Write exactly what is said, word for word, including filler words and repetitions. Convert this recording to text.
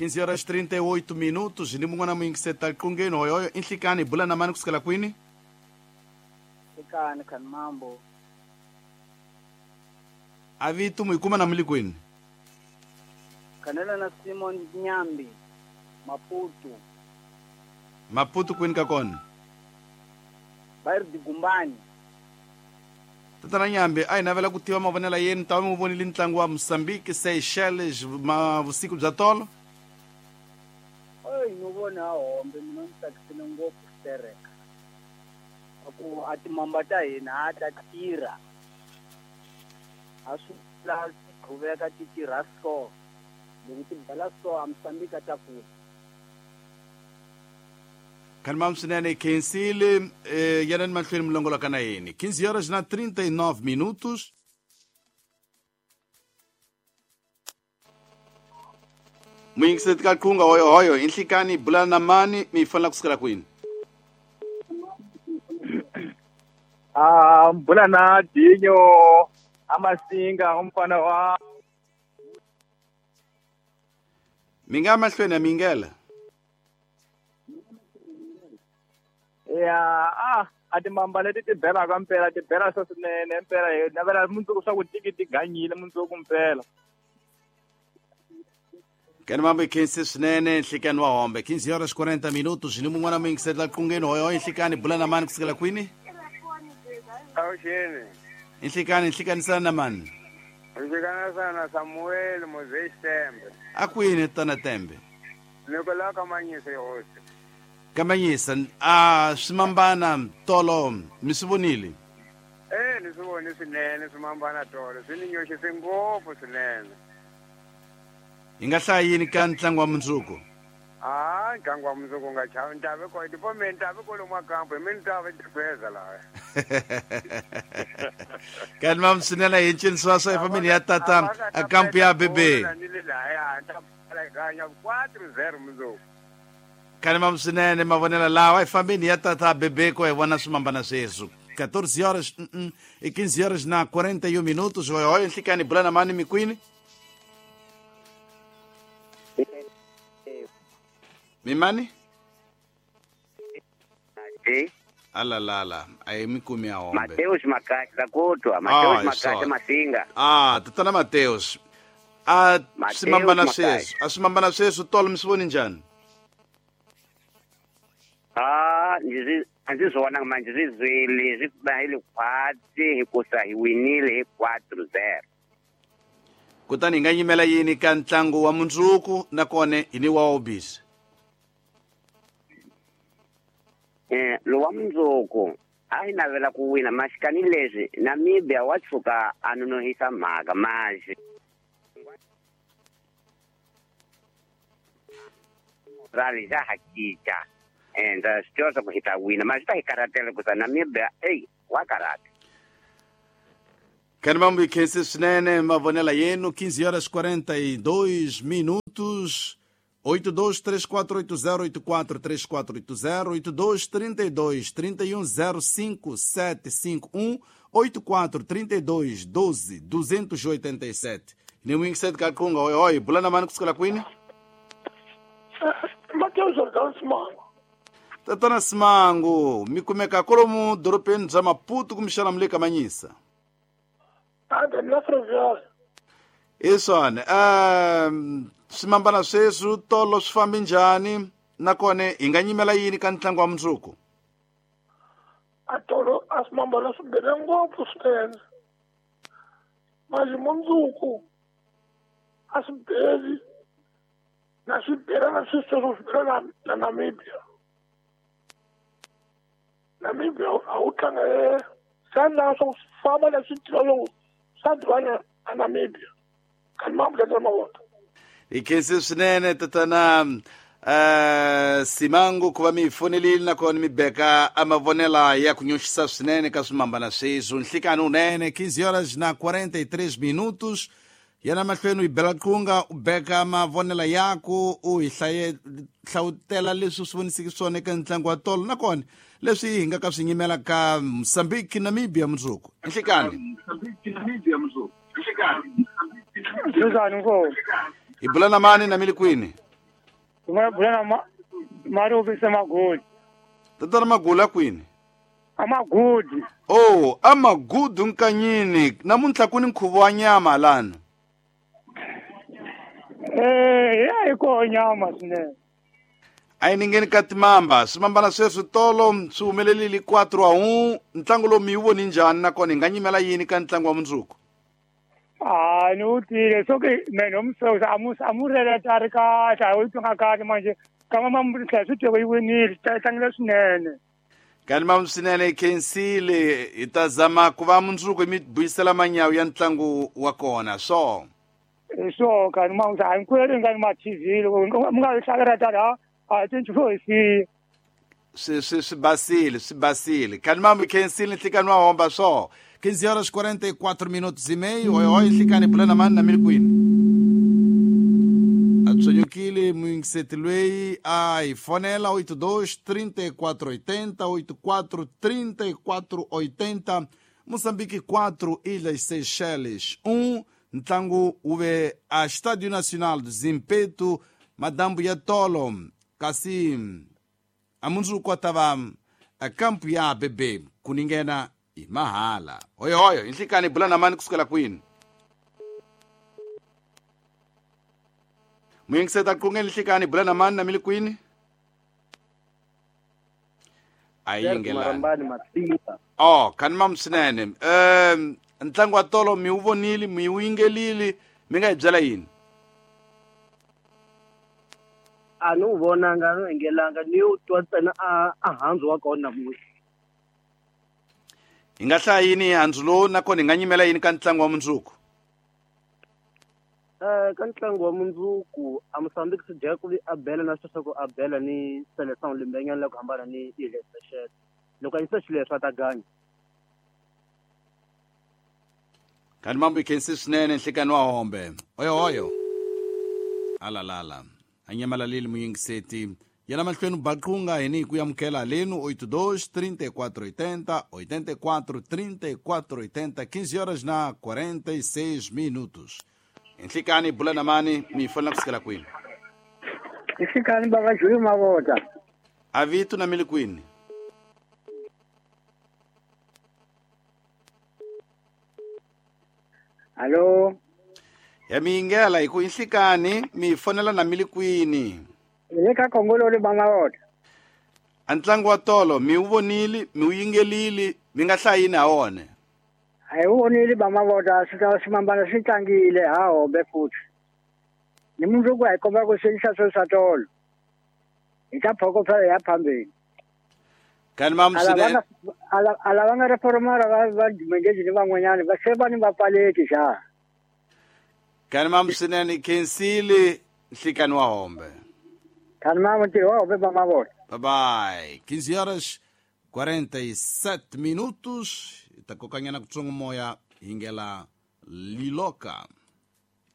quinze horas trinta e oito minutos ni mun'wana muyingiseta liqungeni hoyoyo i nhlikani hi bula na mani kusukela kwini? Nhlikani khani mambo. A vito mu yi kuma na muli kwini? Khanela na Simon Nyambi Maputo. Maputo kwini ka kona? Bairro de Gumbani. Tatana Nyambi, a hi navela ku tiva mavonelo ya yenu, ta va mi vonile ntlangu wa Mozambique Seychelles ma vusiku bya tolo? Ey, ni vona hombe mina ni tsakisile ngopfu xitereka. Ku a timamba ta hina a ta tirha. A swi la qhuveka ti tirha so. Loko ti bela so a Mozambique a ta kula. Kalmam swinene khensile eh, yanani mahlweni milongoloka na yini. quinze horas na trinta e nove minutos. Muyingiseti ka qhunga hoyo hoyo i nhlikani bula na mani mi fanela kusukela kwini? Ah, bula na Dinyo Amasinga umfana wa mi nga mahlweni ya mingela. Ya, ah, a timamba leti ti belaka mpela ti bela swa swinene mpela hi navela mundzuku swa ku tiki ti ganyile mundzuku mpela. Kani mambo khensi swinene nhlikani wa hombe. quinze horas quarenta minutos ni mun'wana muyingiseti qungeni hoyo nhlikani bula na mani kusukela kwini? Awuxeni. Nhlikani nhlikanisana na mani? Nhlikana sana Samuel Moses Tembe. A kwini tana Tembe? Nikola Kamanyisa hosi. Kamanyisa a swimambana tolo mi swi vonile? Eh, ni swi vone swinene swimambana tolo swi ni nyoxise ngopfu swinene. Hi nga hlaya yini ka ntlangu wa mundzuku? Ah, ntlangu wa mundzuku nga chavi ntavi ko tipo mi ntavi kwalomu kampo hi mi ntavi tifeza laha. Kani mam swinene hi ncini swa swa hi fambeni ya tata a kampo ya bebe. Ganya quatro zero mundzuku. Kani mam swinene mavonelo lawa hi fambeni ya tata bebe ko hi vona swimambana sweswo. quatorze horas e quinze horas na quarenta e um minutos. Hoyo hoyo nhlikani bula na mani mikwini? Mimani? Eh? Alalala, ayi mikumi ya hombe. Mateus Makati zakotwa, Mateus Makati Masinga. Ah, tatana Mateus. Ah, swimambana sweswo, a swimambana sweswo tolo mi swi voni njhani? Ah, ndzi a ndzi swi vonanga manje swi zwile swi ba hi khwatsi hikusa hi winile hi quatro zero. Kutani hi nga yimela yini ka ntlangu wa mundzuku nakona hi ni wa obisi? Eh, lowa mundzuku a hi navela ku wina maxikani leswi Namibia wa tshuka a nonohisa mhaka manje rali xa ha cinca and swi tiva swa ku hi ta wina mara swi ta hi karhatela ku sa Namibia eyi wa karhata. Kani mambo khensi swinene mavonelo yenu. quinze horas quarenta e dois minutos. oito dois três quatro oito zero oito quatro três quatro oito zero, oito dois três dois três um zero cinco sete cinco um, oito quatro três dois doze duzentos e oitenta e sete. Ni wingiseti ka qhunga oi oi bula na mani kusukela kwini? Mateus Jordan Simango. Tatana Simango, mi kumeka kolomu dorobeni bya Maputo kumbexana mi le Kamanyisa? Ande na Ferroviária. Iswani, um swimambana sweswo tolo swi fambi njhani nakona hi nga nyimela yini ka ntlangu wa mundzuku? A tolo a swimambana swi bele ngopfu swinene. Manje mundzuku a swi beli na swi bela na swi sweswo swi bela na Namibia. Namibia a wu tlanga swa swa famba leswi tiva loko swa duvana a Namibia. Kani mambo ya mavona. Hi khensi swinene tatana uh, Simango ku va mi fonelile nakona mi beka a mavonela ya ku nyoxisa swinene ka swimambana sweswo. Nhlikani unene. quinze horas na quarenta e três minutos. Yana mahlweni u yi bela qhunga u beka mavonela yaku u hi hlaye hlawutela leswi swi vonisiki swona eka ntlangu wa tolo nakona leswi hi nga ka swi nyimela ka Mozambique Namibia mundzuku. Nhlikani. Njhani mfo? Hi bula na mani na mi le kwini? Nga bula na Maruvi Semagudi. Tatana Magula kwini? Amagudi. Oh, Amagudu nkanyini. Namuntlha ku ni nkhuvo wa nyama lana. Eh, ya yi koho nyama swinene. A yi ningeni ka timamba. Swimambana sweswi tolo swi humelelile quatro a um. Ntlangu lowu mi wu voni njhani nakona hi nga nyimela yini ka ntlangu wa mundzuku? Ah, ni wu twile. So ke mene umsewusa a mu releta a ri kahle, a wu twanga kahle manje. Kama ma tlhela swi twe yi winile, tlangile swinene. Kani ma swinene khensile, hi ta zama ku va mundzuku mi buyisela manyawu ya ntlangu wa kona so. Hi swo kani ma a hinkwenu nga ni ma T V loko mi nga yi hlalela tani ha a cinci swo hi siya. Swi swi swi basile, swi basile. Kani ma mi khensile nhlikani wa homba so. quinze horas quarenta e quatro minutos e meio. Oi, oi, nhlikani bula mani na mili kwini. Atsonyukile muyingiseti loyi a hi fonela oito dois trinta e quatro oitenta, oito quatro trinta e quatro oitenta, Moçambique quatro, Ilhas Seychelles um. Ntlangu wu ve a Estádio Nacional do Zimpeto, madambu ya tolo, kasi a mundzuku a ta va a kampu ya B B ku ningena hi mahala. Hoyo hoyo, nhlikani bula na mani kusukela kwini? Muyingiseta qungeni nhlikani bula na mani na mili kwini? A yingelani. Oh, kani mam swinene. Um ntlangu wa tolo mi wu vonile, mi wu yingelile, mi nga hi byela yini? A ni wu vonanga, a ni wu yingelanga, ni wu twa ntsena a a handzu wa kona namuntlha. Hi nga hlaya yini hi handzu lowu nakona hi nga nyimela yini ka ntlangu wa mundzuku? Eh, ka ntlangu wa mundzuku a Mozambique swi dya ku vi a bela na sweswo ku a bela ni Seleção lembenyana la ku hambana ni Ilhas Seychelles. Loko a yisa xileswi a ta ganya. Kani mambo hi khensi swinene nhlikani wa hombe. Oyo oyo. Alalala. A nyamalalile muyingiseti. Yena mahlweni baqunga hi ni ku amukela lenu oito dois trinta e quatro oitenta, oitenta e quatro trinta e quatro oitenta, quinze horas na quarenta e seis minutos. Nhlikani bula na mani mi fonela kusukela kwini? Nhlikani baba Juli Mavota. Avitu na mili kwini? Alo. Ya mingela hi ku nhlikani mi fonela na mili kwini? Le ka Kongolo le Mavota. A ntlangu wa tolo mi wu vonile, mi wu yingelile, mi nga hlayi yini ha wona? A hi wu vonile ba Mavota, swi ta swimambana swi tlangile ha hombe futhi. Ni mundzuku a hi komba ku swi swo swa tolo. Hi ta phokofela ya phambeni. Kani mam swinene. A lava nga reformara va va dimengezi ni van'wanyana va se va ni va pfaleki xa. Kani mam swinene khensile nhlikani wa hombe. Kani mam ntirho wa hombe ba Mavota. Bye bye. quinze horas quarenta e sete minutos. Ta kokanyana kutsongo moya hingela Liloka.